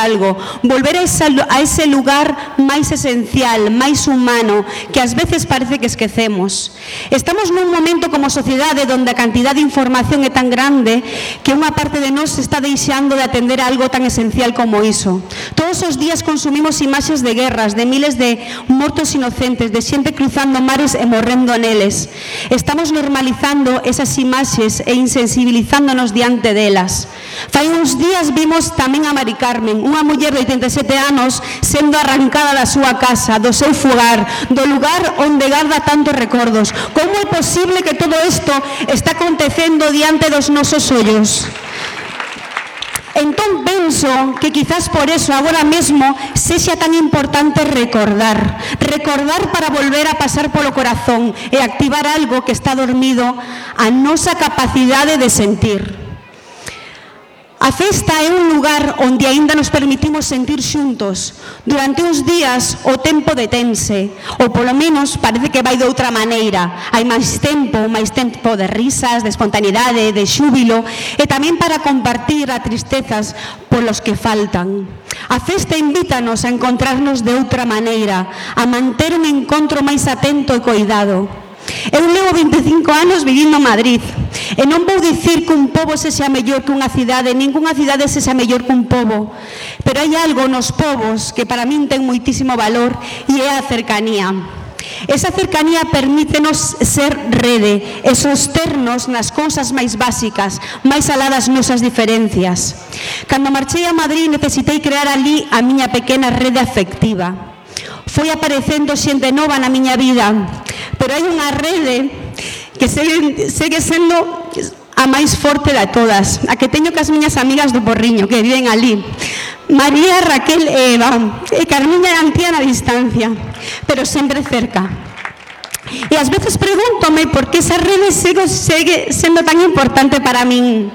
algo, volver a ese lugar máis esencial, máis humano, que ás veces parece que esquecemos. Estamos nun momento como sociedade onde a cantidad de información é tan grande que unha parte de nós está deixando de atender a algo tan esencial como iso. Todos os días consumimos imaxes de guerras, de miles de mortos inocentes, de xente cruzando mares e morrendo neles. Estamos normalizando esas imaxes e insensibilizándonos diante delas. Fai uns días vimos tamén a Mari Carmen, unha muller de 87 anos sendo arrancada da súa casa, do seu fogar, do lugar onde garda tantos recordos. Como é posible que todo isto está acontecendo diante dos nosos ollos? Entón penso que quizás por eso agora mesmo sexa tan importante recordar para volver a pasar polo corazón e activar algo que está dormido, a nosa capacidade de sentir. A festa é un lugar onde aínda nos permitimos sentir xuntos. Durante uns días o tempo detense, ou polo menos parece que vai de outra maneira. Hai máis tempo de risas, de espontaneidade, de xúbilo, e tamén para compartir as tristezas polos que faltan. A festa invítanos a encontrarnos de outra maneira, a manter un encontro máis atento e coidado. Eu levo 25 anos vivindo en Madrid e non vou dicir que un pobo sexa mellor que unha cidade, ninguna cidade sexa mellor que un pobo, pero hai algo nos pobos que para min ten moitísimo valor e é a cercanía. Esa cercanía permítenos ser rede e sosternos nas cousas máis básicas, máis alá das nosas diferencias. Cando marchei a Madrid necesitei crear ali a miña pequena rede afectiva. Foi aparecendo xente nova na miña vida, pero hai unha rede que segue sendo a máis forte de todas, a que teño cas miñas amigas do Porriño, que viven ali. María, Raquel e Eva, e Carmiña e Antía na distancia, pero sempre cerca. E ás veces pregúntome por que esa rede segue sendo tan importante para min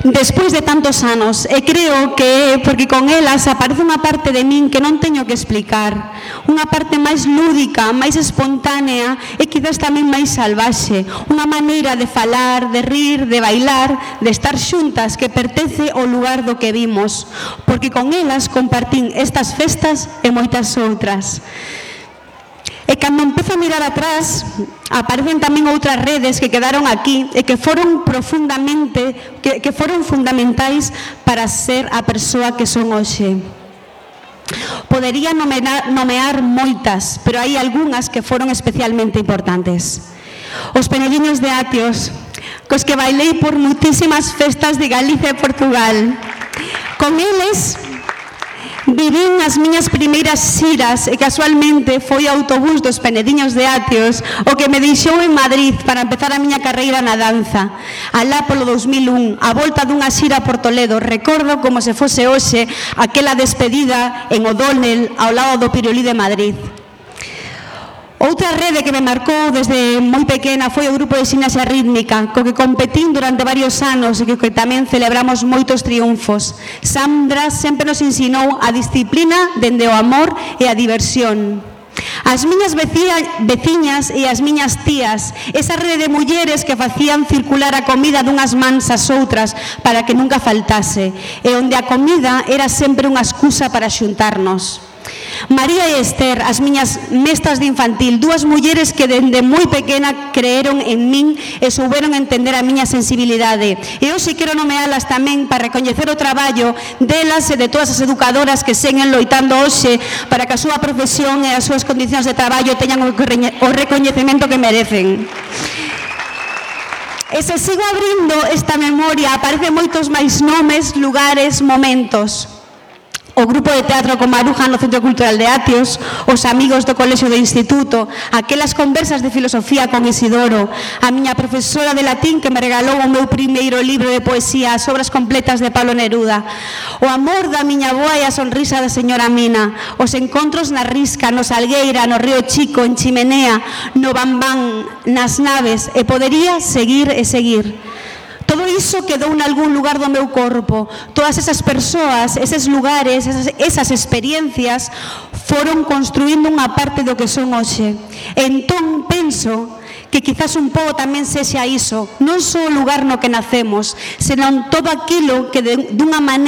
despois de tantos anos, e creo que é porque con elas aparece unha parte de min que non teño que explicar, unha parte máis lúdica, máis espontánea e quizás tamén máis salvaxe, unha maneira de falar, de rir, de bailar, de estar xuntas que pertence ao lugar do que vimos, porque con elas compartín estas festas e moitas outras. E cando empezo a mirar atrás, aparecen tamén outras redes que quedaron aquí e que foron fundamentais para ser a persoa que son hoxe. Podería nomear moitas, pero hai algunhas que foron especialmente importantes. Os Penediños de Atios, cos que bailei por moitísimas festas de Galicia e Portugal. Con eles vivín as miñas primeiras xiras e casualmente foi o autobús dos Penediños de Atios o que me deixou en Madrid para empezar a miña carreira na danza. Alá polo 2001, a volta dunha xira por Toledo, recordo como se fose hoxe aquela despedida en O'Donnell ao lado do Pirulí de Madrid. Outra rede que me marcou desde moi pequena foi o grupo de Gimnasia Rítmica, co que competín durante varios anos e que tamén celebramos moitos triunfos. Sandra sempre nos ensinou a disciplina dende o amor e a diversión. As miñas veciñas e as miñas tías, esa rede de mulleres que facían circular a comida dunhas mans ás outras para que nunca faltase, e onde a comida era sempre unha excusa para xuntarnos. María e Esther, as miñas mestras de infantil, dúas mulleres que dende moi pequena creeron en min e souberon entender a miña sensibilidade. E hoxe quero nomealas tamén para recoñecer o traballo delas e de todas as educadoras que seguen loitando hoxe para que a súa profesión e as súas condicións de traballo teñan o recoñecemento que merecen. E se sigo abrindo esta memoria, aparecen moitos máis nomes, lugares, momentos. O grupo de teatro con Maruja no Centro Cultural de Atios, os amigos do colexio do instituto, aquelas conversas de filosofía con Isidoro, a miña profesora de latín que me regalou o meu primeiro libro de poesía, as obras completas de Pablo Neruda, o amor da miña avoa e a sonrisa da señora Mina, os encontros na Risca, no Salgueira, no Río Chico, en Chimenea, no Bambán, nas naves, e podería seguir e seguir. Todo iso quedou en algún lugar do meu corpo. Todas esas persoas, eses lugares, esas experiencias foron construindo unha parte do que son hoxe. Entón penso que quizás un pouco tamén sexa iso, non só o lugar no que nacemos, senón todo aquilo que dunha maneira